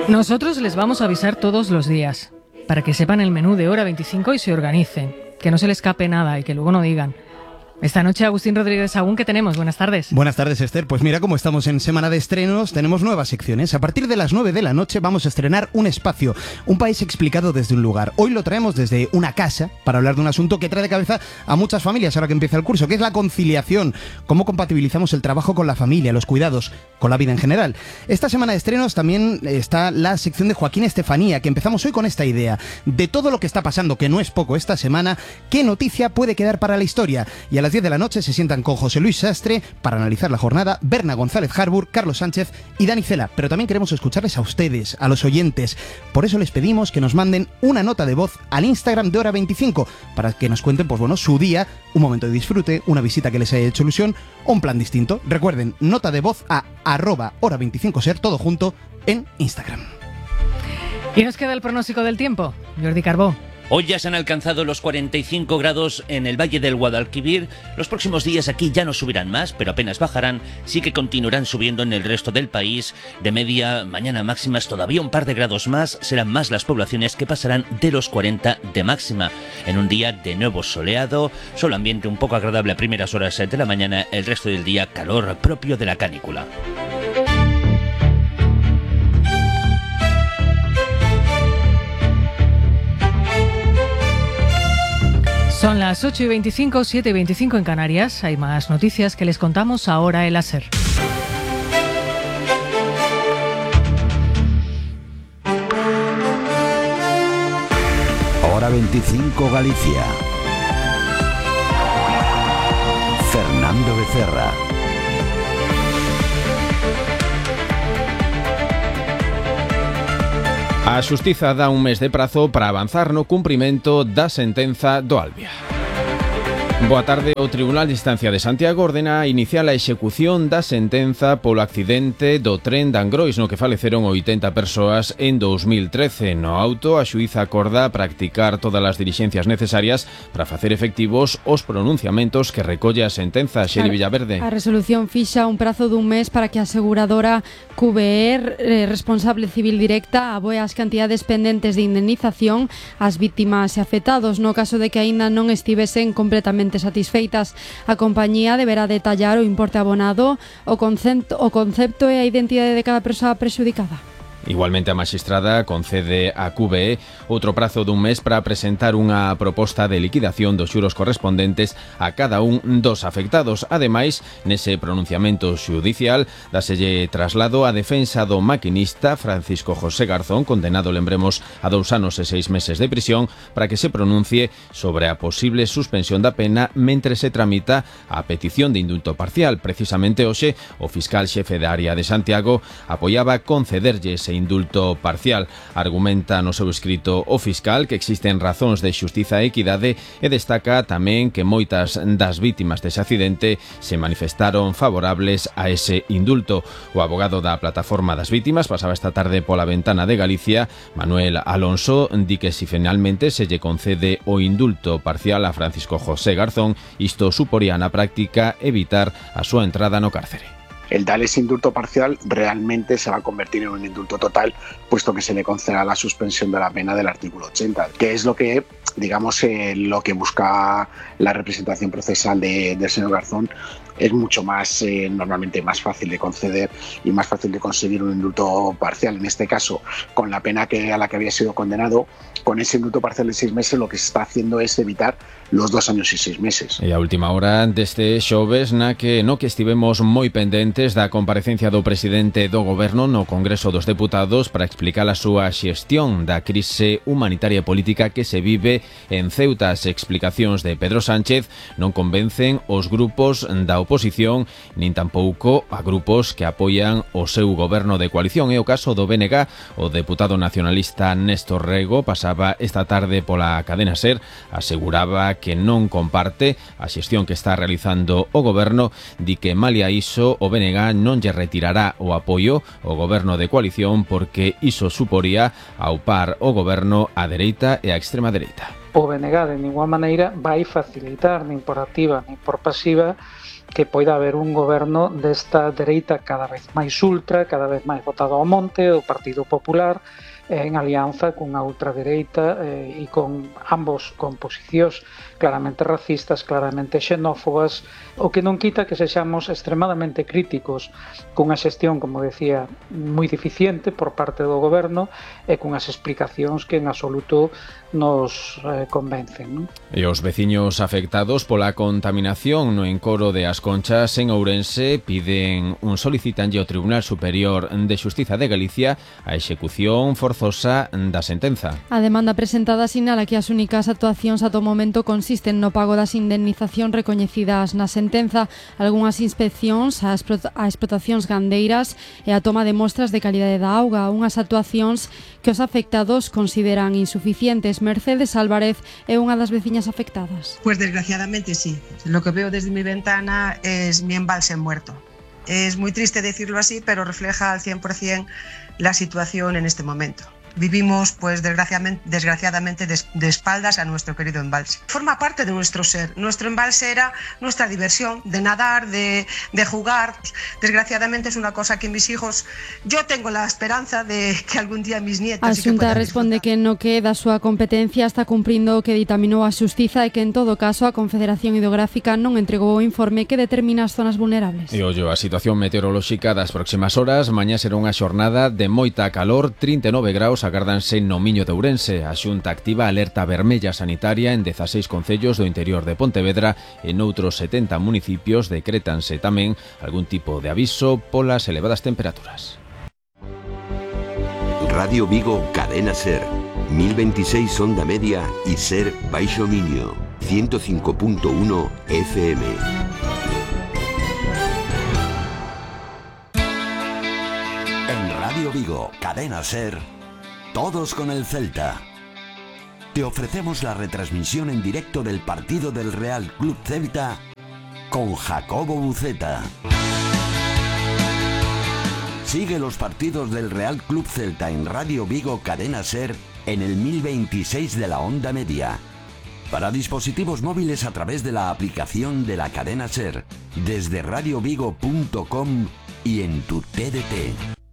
Nosotros les vamos a avisar todos los días, para que sepan el menú de Hora 25 y se organicen, que no se les escape nada y que luego no digan. Esta noche, Agustín Rodríguez Sagún, ¿qué tenemos? Buenas tardes. Buenas tardes, Esther. Pues mira, como estamos en semana de estrenos, tenemos nuevas secciones. A partir de las 9 de la noche vamos a estrenar Un Espacio, un país explicado desde un lugar. Hoy lo traemos desde una casa para hablar de un asunto que trae de cabeza a muchas familias ahora que empieza el curso, que es la conciliación. Cómo compatibilizamos el trabajo con la familia, los cuidados, con la vida en general. Esta semana de estrenos también está la sección de Joaquín Estefanía, que empezamos hoy con esta idea. De todo lo que está pasando, que no es poco esta semana, ¿qué noticia puede quedar para la historia? Y a las 10 de la noche se sientan con José Luis Sastre para analizar la jornada, Berna González Harbour, Carlos Sánchez y Dani Cela. Pero también queremos escucharles a ustedes, a los oyentes. Por eso les pedimos que nos manden una nota de voz al Instagram de Hora 25 para que nos cuenten, pues bueno, su día, un momento de disfrute, una visita que les haya hecho ilusión o un plan distinto. Recuerden, nota de voz a @hora25ser, todo junto, en Instagram. ¿Y nos queda el pronóstico del tiempo? Jordi Carbó. Hoy ya se han alcanzado los 45 grados en el Valle del Guadalquivir. Los próximos días aquí ya no subirán más, pero apenas bajarán. Sí que continuarán subiendo en el resto del país. De media, mañana máximas todavía un par de grados más. Serán más las poblaciones que pasarán de los 40 de máxima. En un día de nuevo soleado, solo ambiente un poco agradable a primeras horas de la mañana. El resto del día calor propio de la canícula. Son las 8:25, 7:25 en Canarias. Hay más noticias que les contamos ahora en la SER. Hora 25 Galicia. Fernando Becerra. A Xustiza dá un mes de prazo para avanzar no cumprimento da sentenza do Albia. Boa tarde. O Tribunal de Instancia de Santiago ordena iniciar a execución da sentenza polo accidente do tren de Angrois, no que faleceron 80 persoas en 2013. No auto, a xuíza acorda practicar todas as dilixencias necesarias para facer efectivos os pronunciamentos que recolle a sentenza. Xeri Villaverde. A resolución fixa un prazo dun mes para que a aseguradora QBR, responsable civil directa, aboe as cantidades pendentes de indemnización ás vítimas e afectados. No caso de que aínda non estivesen completamente satisfeitas, a compañía deberá detallar o importe abonado, o concepto e a identidade de cada persoa prexudicada. Igualmente, a maxistrada concede a QBE outro prazo dun mes para presentar unha proposta de liquidación dos xuros correspondentes a cada un dos afectados. Ademais, nese pronunciamento xudicial, dáselle traslado a defensa do maquinista Francisco José Garzón, condenado, lembremos, a 2 anos e 6 meses de prisión, para que se pronuncie sobre a posible suspensión da pena mentre se tramita a petición de indulto parcial. Precisamente hoxe, o fiscal xefe da área de Santiago apoiaba concederlle ese indulto parcial. Argumenta no seu escrito o fiscal que existen razóns de xustiza e equidade e destaca tamén que moitas das vítimas dese accidente se manifestaron favorables a ese indulto. O abogado da Plataforma das Vítimas pasaba esta tarde pola ventana de Galicia. Manuel Alonso di que si finalmente se lle concede o indulto parcial a Francisco José Garzón, isto suporía na práctica evitar a súa entrada no cárcere. El dar ese indulto parcial realmente se va a convertir en un indulto total, puesto que se le concederá la suspensión de la pena del artículo 80, que es lo que, digamos, lo que busca la representación procesal del señor Garzón. Es mucho más, normalmente más fácil de conceder y más fácil de conseguir un indulto parcial. En este caso, con la pena a la que había sido condenado, con ese indulto parcial de 6 meses, lo que se está haciendo es evitar los 2 años y 6 meses. E a última hora deste xoves no que estivemos moi pendentes da comparecencia do presidente do Goberno no Congreso dos Deputados para explicar a súa xestión da crise humanitaria e política que se vive en Ceuta. As explicacións de Pedro Sánchez non convencen os grupos da oposición nin tampouco a grupos que apoian o seu goberno de coalición. É o caso do BNG. O deputado nacionalista Néstor Rego pasaba esta tarde pola cadena SER, aseguraba que non comparte a xestión que está realizando o goberno, di que malia iso o BNG non lle retirará o apoio ao goberno de coalición porque iso suporía aupar o goberno á dereita e á extrema dereita. O BNG de ninguna maneira vai facilitar, nin por activa nin por pasiva, que poida haber un goberno desta dereita cada vez máis ultra, cada vez máis votado ao monte, o Partido Popular, en alianza cunha ultradereita e con ambos con posicións claramente racistas, claramente xenófobas, o que non quita que sexamos extremadamente críticos cunha xestión, como decía, moi deficiente por parte do goberno e cunhas explicacións que en absoluto nos convencen, non? E os veciños afectados pola contaminación no encoro de As Conchas en Ourense solicitanlle ao Tribunal Superior de Xustiza de Galicia a execución forzosa da sentenza. A demanda presentada sinala que as únicas actuacións ata o momento consisten no pago das indemnizacións recoñecidas na sentenza, algunhas inspeccións a explotacións gandeiras e a toma de mostras de calidade da auga, unhas actuacións que os afectados consideran insuficientes. Mercedes Álvarez é unha das veciñas afectadas. Pues desgraciadamente sí. Lo que veo desde mi ventana es mi embalse muerto. Es muy triste decirlo así, pero refleja al 100% la situación en este momento. Vivimos, pues desgraciadamente, de espaldas a nuestro querido embalse. Forma parte de nuestro ser. Nuestro embalse era nuestra diversión, de nadar, de jugar. Desgraciadamente es una cosa que mis hijos, yo tengo la esperanza de que algún día mis nietos... A Xunta responde que no que da súa competencia está cumprindo o que ditaminou a Xustiza e que en todo caso a Confederación Hidrográfica non entregou o informe que determina as zonas vulnerables. E ollo, a situación meteorolóxica das próximas horas. Mañá será unha xornada de moita calor, 39 graus agárdanse no Miño de Ourense. A Xunta activa alerta vermella sanitaria en 16 concellos do interior de Pontevedra e noutros 70 municipios decrétanse tamén algún tipo de aviso polas elevadas temperaturas. Radio Vigo Cadena Ser, 1026 onda media y Ser Baixo Miño, 105.1 FM. En Radio Vigo Cadena Ser, todos con el Celta. Te ofrecemos la retransmisión en directo del partido del Real Club Celta con Jacobo Buceta. Sigue los partidos del Real Club Celta en Radio Vigo Cadena Ser en el 1026 de la onda media. Para dispositivos móviles a través de la aplicación de la Cadena Ser, desde radiovigo.com y en tu TDT.